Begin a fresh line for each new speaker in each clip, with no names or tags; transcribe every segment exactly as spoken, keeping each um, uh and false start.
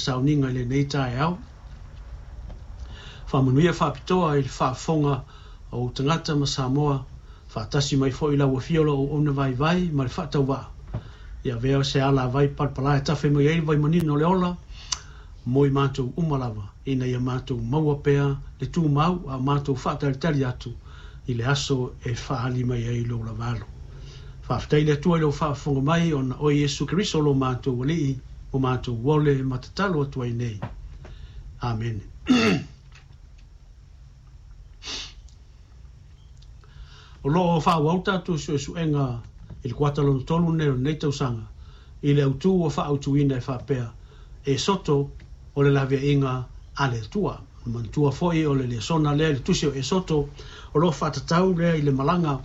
sauniga i lenei taeao. Faamanuia faapitoa i le faafofoga o ou tagata ma Samoa, faatasi mai foi lau afio o lou auauna vaivai ma le faatauvaa. Ia avea se alavai palapala e tafe mai ai le vaimanino o le ola mo i matou uma lava, ina ia matou maua pea le tumau a o matou faatalitali atu i le aso e faaali mai ai lou lavalo. Faafetai i le Atua i lou faafofoga mai ona o Iesu Keriso lo matou Alii, o matou ole ma tatalo atu ai nei. Amene. O loo faaauau tatou suesuega i le kuata lona tolu nei o lenei tausaga i le autū ua faaautuina e faapea, Esoto o le laveaiga a le Atua. Manatua foi o le lesona lea i le tusi o Esoto, o loo faatatau lea i le malaga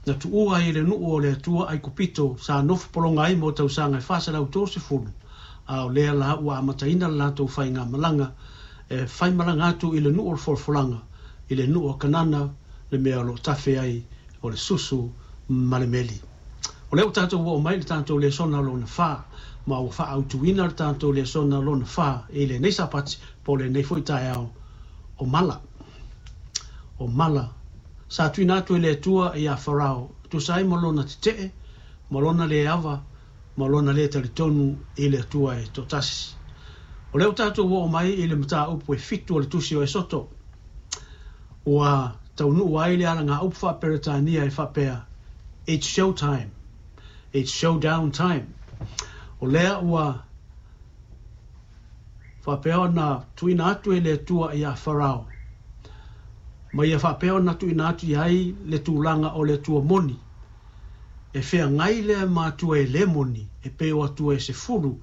na tuua ai e le nuu o le Atua Aikupito sa nofo pologa ai mo tausaga e fa selau tolusefulu, a o lea la ua amataina le latou faigamalaga e faimalaga atu i le nuu o le folafolaga, i le nuu o Kanana, le mea o loo tafe ai o le susu ma le meli. O lea ua tatou oo mai le tatou lesona lona fa, ma ua faaautuina le tatou lesona lona fa i lenei Sapati po o lenei foi taeao o mala. O mala sa tuuina atu e le Atua ia Farao, tusa ai ma lona tetee, ma lona le ava, ma lona le talitonu i le Atua e toatasi. O lea ua tatou oo mai i le mataupu e fitu o le tusi o Esoto, ua taunuu ai le alagaupu faaperetania e faapea, It's show time. It's showdown time. O lea ua faapea ona tuuina atu e le Atua ia Farao, ma ia faapea ona tuuina atu i ai le tulaga o le Atua moni, e feagai lea ma Atua e le moni, e pei o Atua e sefulu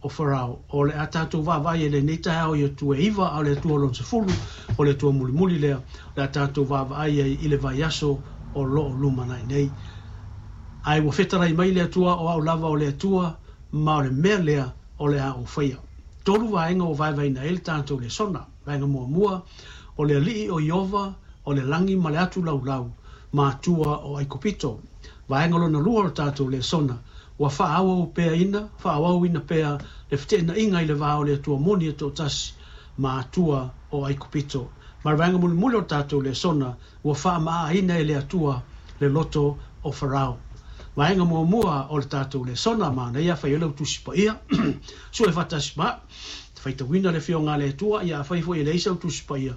o Farao. O le a tatou vaavaai e lenei taeao i Atua e iva, a o le Atua lona sefulu, o le Atua mulimuli lea, o le a tatou vaavaai ai i le vaiaso o loo lumanai nei. Ae ua fetalai mai le Atua, o au lava o le Atua, ma o le mea lea o le a ou faia. Tolu vaega ua vaevaeina ai le tatou lesona. Vaega muamua, o le alii o Iova, o le lagi ma le atu laulau, ma Atua o Aikupito. Vaega lona lua o le tatou lesona, ua faaauau pea ina, faaauauina pea le feteenaiga i le va o le Atua moni e toatasi ma Atua o Aikupito. Ma le vaega mulimuli o le tatou lesona, ua faamaa e le Atua le loto o Farao. Vaega muamua o le tatou lesona, manaia fai ai lau tusi paia, sue faatasi ma faitauina le afioga a le Atua, ia afai foi e leai sau tusi paia,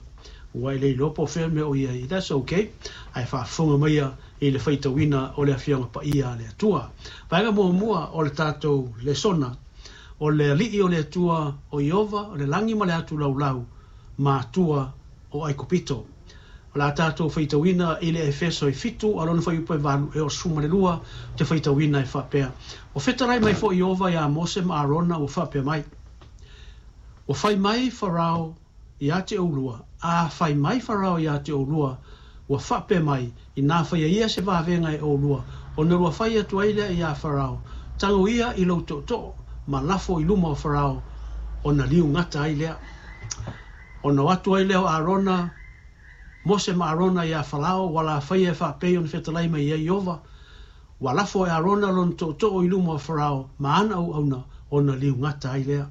ua e le iloa po o fea le mea o i ai, that's okay, ae faafofoga maia i le faitauina o le afioga paia a le Atua. Vaega muamua o le tatou lesona, o le alii o le Atua o Iova, o le lagi ma le atu laulau, ma Atua o Aikupito. O le a tatou faitauina i le Efeso e fitu, a lona fuaiupu e valu e onosefulu ma le lua, te faitauina e faapea. Ua fetalai mai foi Iova ia Mose ma Arona ua faapea mai. Ua fai mai Farao ia te oulua, a fai mai Farao ia te oulua, ua faapea mai, ina faia ia se vavega e oulua, ona lua fai atu ai lea ia Farao, tago ia i lou tootoo, ma lafo i luma o Farao, ona liu gata ai lea. Ona o atu ai lea o Arona, Mose ma Arona ia Farao, ua la faia e faapei ona fetalai mai ai Iova, ua lafo e Arona lona tootoo i luma o Farao, ma ana auauna, ona liu gata ai lea.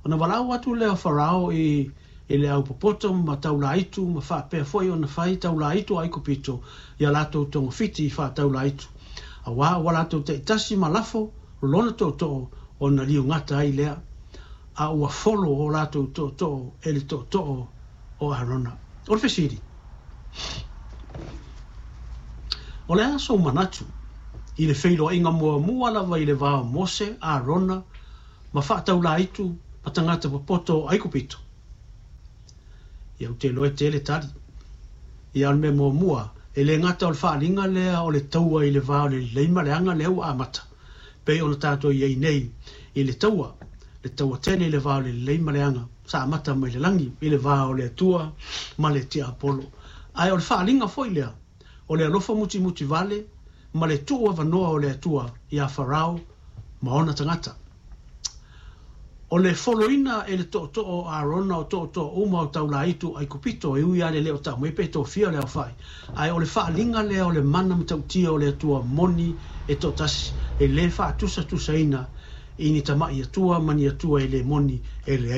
Ona valaau atu lea o Farao i, i le aupopoto ma taulaitu, ma faapea foi ona fai taulaitu a Aikupito, ia latou togafiti i faataulaitu. Auā ua latou taitasi ma lafo lona tootoo, ona liu gata ai lea. A ua folo o latou tootoo e le tootoo o Arona. O le fesili, o le a sou manatu i le feiloaiga muamua lava i le va o Mose, Arona ma faataulaitu ma tagata popoto o Aikupito? Ia ou te iloa e tele tali. Ia o le mea muamua, e le gata o le faaaliga lea o le taua i le va o le lelei ma le aga lea ua amata, pei ona tatou i ai nei i le taua, le taua tele i le va o le lelei ma le aga, sa amata mai le lagi i le va o le Atua ma le tiapolo. Ae o le faaaliga foi lea, o le alofa mutimuti vale ma le tuu avanoa o le Atua ia Farao ma ona tagata. O le foloina e le tootoo o Arona o tootoo uma o taulaitu Aikupito, e ui lava le le o tau mai pe tofia le aofai. Ae o le faaaliga lea o le mana matautia o le Atua moni e toatasi, e le faatusatusaina i ni tamai Atua ma ni Atua e le moni e leai.